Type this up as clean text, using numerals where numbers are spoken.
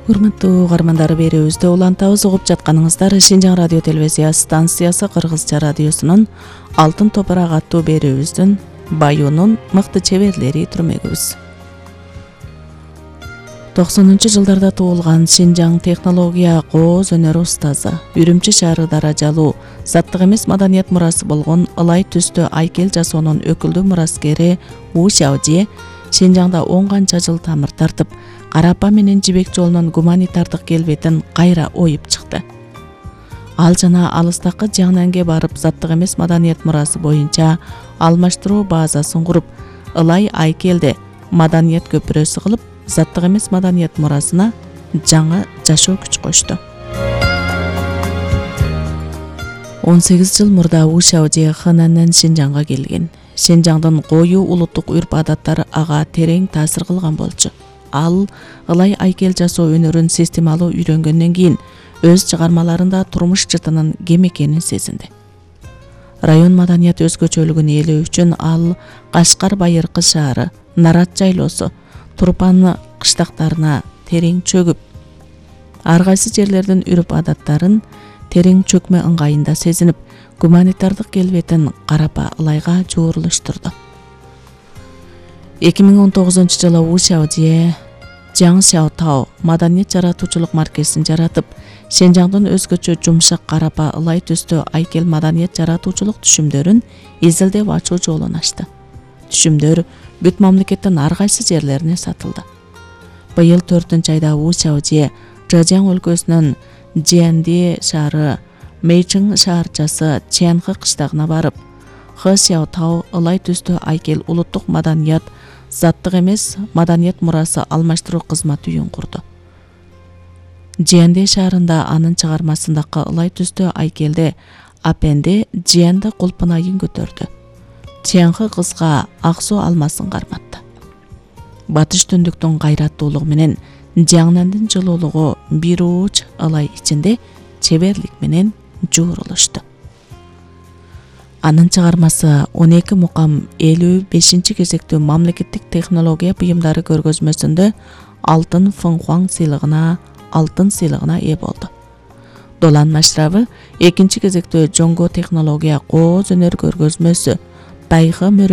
Урматтуу угармандар, берүүбүздү улантабыз. Угуп жатканыңыздар Шинжаң радио телевизия станциясы Кыргызча радиосунун Алтын топурак аттуу берүүбүздүн Баюунун мыкты чеберлери түрмөгүбүз. 90-жылдарда туулган Шинжаң технология кооз өнөр устазы, Үрүмчү шаары даражалуу заттык эмес маданият мурасы болгон ылай түстүү айкел жасоонун өкүлдүү мураскери У Шаожие Шинжаңда 10 канча жыл тамыр тартып, Карапа менен Жибек жолунун гуманитардык келбетин кайра оюп чыкты. Ал жана алыстакы Жаңнанге барып, заттык эмес маданият мурасы боюнча алмаштыруу базасын куруп, ылай айкелде маданият көпүрөсү кылып, заттык эмес маданият мурасына жаңы жашоо күч кошту. 18 жыл мурда У Шаожие Хэнаннан Шинжаңга келген. Шинжаңдын коюу улуттук үрп-адаттары ага терең таасир кылган болчу. Ал ылай айкел жасоо өнөрүн системалуу үйрөнгөндөн кийин өз чыгармаларында турмуш жытынын кем экенин сезинди. Район маданият өзгөчөлүгүн ээлөө үчүн ал Кашкар Байыркы шаары, Нарат жайлоосу, Турпан кыштактарына терең чөгүп, ар кайсы жерлердин үрп-адаттарын терең чөкмө ыңгайында сезинип, гуманитардык келбетин Карапа ылайга жуурулуштурду. 2019 жылы У Шаожие Жаң Шаотао маданият жаратуучулук маркезин жаратып, Шинжаңдын өзгөчө жумшак Карапа ылай түстүү айкел маданият жаратуучулук түшүмдөрүн изилдеп ачуу жолун ачты. Түшүмдөр бүт мамлекеттин ар кайсы жерлерине сатылды. Быйыл 4-айда У Шаожие Чжэжяң өлкөсүнүн Жианди шаары, Мэйчиң шаарчасы Чэнхэ кыштагына барып, Хэ Сяотао ылай түстүү айкел улуттук маданият, заттык эмес маданият мурасы алмаштыруу кызматы үйүн курду. Жианди шаарында анын чыгармасындагы ылай түстүү айкелде Апенде Жианды кулпунайын көтөрдү. Чэнхэ кызга ак суу алмасын карматты. Батыш түндүктүн кайраттуулугу менен Жаңнандын жылуулугу бир ууч ылай ичинде чеберлик менен жуурулушту. Анын чыгармасы 12 мукам 55 кезектүү мамлекеттик технология буюмдары көргөзмөсүндө алтын Фэнхуаң сыйлыгына ээ болду. Долан машрабы 2 кезектүү жоңго технология кооз өнөр көргөзмөсү Байхы